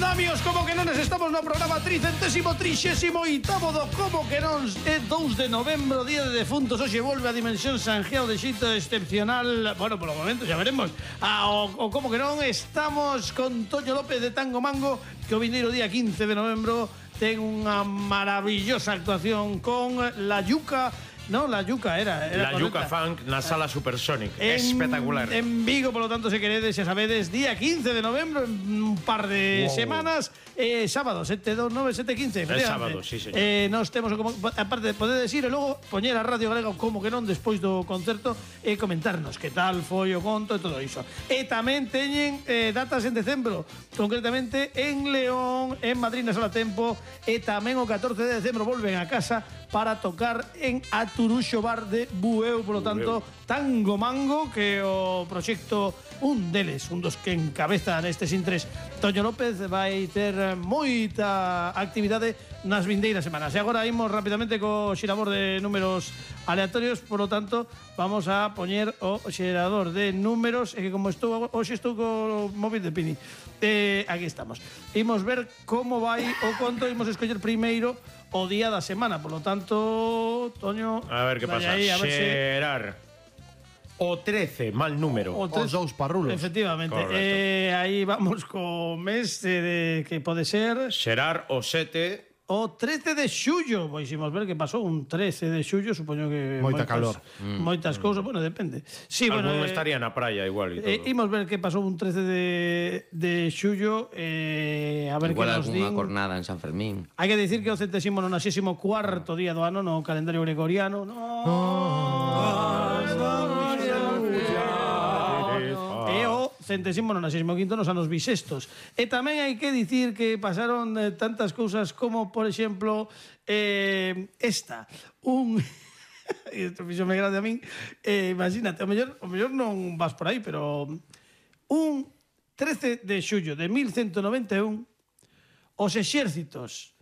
Andamios, como que non estamos no programa 338º do Como que non é 2 de novembro, día de defuntos. Hoxe volve a Dimensión Sanjeo de xito excepcional. Bueno, polo momento xa veremos. O Como que non estamos con Toño López de Tango Mango, que o vindeiro día 15 de novembro ten unha maravillosa actuación con La Yuca. No, La Yuca era La Yuca Funk na Sala Supersonic. Espectacular. En Vigo, por lo tanto, se queredes, xa sabedes, día 15 de novembro, en un par de semanas, sábado, 729, 715. É sábado, sí, señor. Nos temos, aparte, podedes ir e logo poñer a Radio Galega como que non despois do concerto e comentarnos que tal foi o conto e todo iso. E tamén teñen datas en decembro, concretamente en León, en Madrid na Sala Tempo, e tamén o 14 de decembro volven a casa para tocar en Aturuxo Bar de Bueu, polo tanto, Tango Mango, que o proxecto, un deles, un dos que encabeza nestes intres, Toño López, vai ter moita actividade nas vindeiras semanas. E agora imos rapidamente co xerador de números aleatorios, polo tanto, vamos a poñer o xerador de números, e que como hoxe estou co móvil de Pini. Aquí estamos. Imos ver como vai o conto, imos escoller primeiro o día da semana, por lo tanto, Toño, a ver que pasa. Aí, Xerar o 13, mal número. Os dous parrulos. Efectivamente. Aí vamos co mes que pode ser Xerar o 7. o 13 de xullo. Poisimos ver que pasou un 13 de xullo, supoño que Moita calor. Moitas cousas, bueno, depende. Sí, Algún bueno, estaría na praia igual e todo. imos ver que pasou un 13 de xullo, a ver igual que nos algunha din. cornada en San Fermín. Hai que dicir que o 194º día do ano no calendario gregoriano. E o 195º nos anos bisestos. E tamén hai que dicir que pasaron tantas cousas como, por exemplo, esta. Isto fixome grande a min. Imagínate, o mellor non vas por aí, pero un 13 de xullo de 1191 os exércitos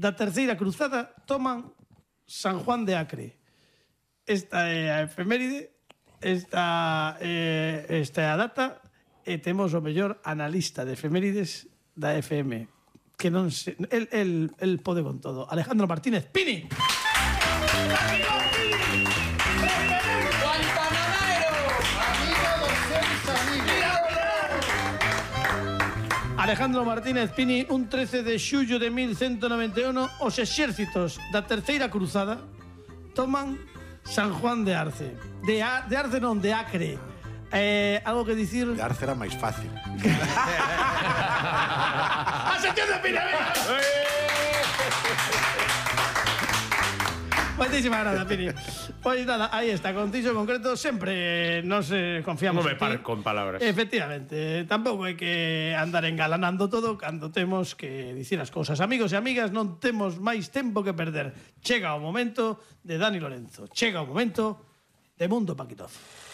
da Terceira Cruzada toman San Juan de Acre. Esta é a efeméride, esta é a data, e temos o mellor analista de efemérides da FM, que non se... El pode con todo. Alejandro Martínez Pini. Alejandro Martínez Pini, un 13 de xullo de 1191, os exércitos da Terceira Cruzada toman San Juan de Arce. De Arce non, de Acre. Algo que dicir? De Arce era máis fácil. ¡A sección de Pini! Moitísimas grazas, Pini. Pois nada, aí está, con Tixo concreto sempre nos confiamos Non me en ti. pare con palabras. Efectivamente, tampouco hai que andar engalanando todo cando temos que dicir as cousas. Amigos e amigas, non temos máis tempo que perder. Chega o momento de Dani Lorenzo. Chega o momento de Mundo Paquitoz.